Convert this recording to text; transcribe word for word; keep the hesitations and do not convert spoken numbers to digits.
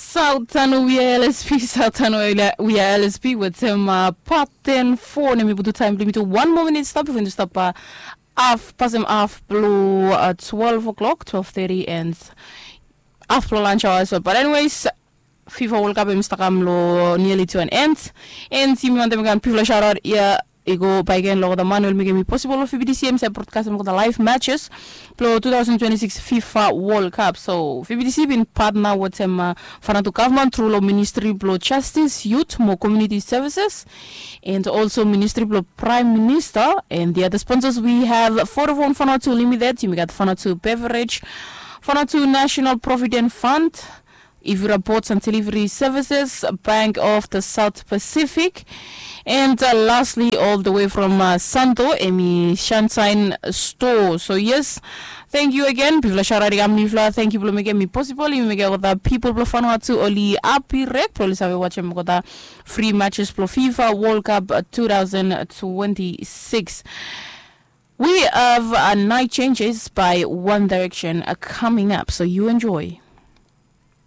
Sautano wia L S P, Sautano wia L S P wetem uh, part ten four, nem i putu taem blong yumi tu one more minute stap bifo yumi stap uh, af pasem af blong uh, twelve o'clock, twelve thirty and af blong lunch hour as well. But anyways, FIFA World Cup em i stap kam long nearly to an end. And yumi wantem kam bifo shout out ia i go baeken long olgeta man we oli mekem i possible long V B T C em save broadcastem olgeta live matches blong two thousand twenty-six FIFA World Cup. So V B T C bin partner wetem uh, Vanuatu government through long Ministry blong Justice, Youth mo Community Services and also Ministry blong Prime Minister. And the other sponsors we have Vodafone Vanuatu Limited, yumi gat Vanuatu Beverage, Vanuatu National Provident Fund, Ivira Ports and Delivery Services, Bank of the South Pacific, and uh, lastly, all the way from uh, Santo, em i Sunshine Store. So yes, thank you again. Bifo shout out i kam long yufala, thank you blong mekem i possible. Yumi mekem olgeta people blong Vanuatu oli happy, rek blong oli save wajem olgeta free matches blong FIFA World Cup uh, two thousand twenty-six. We have uh, Night Changes by One Direction uh, coming up, so you enjoy.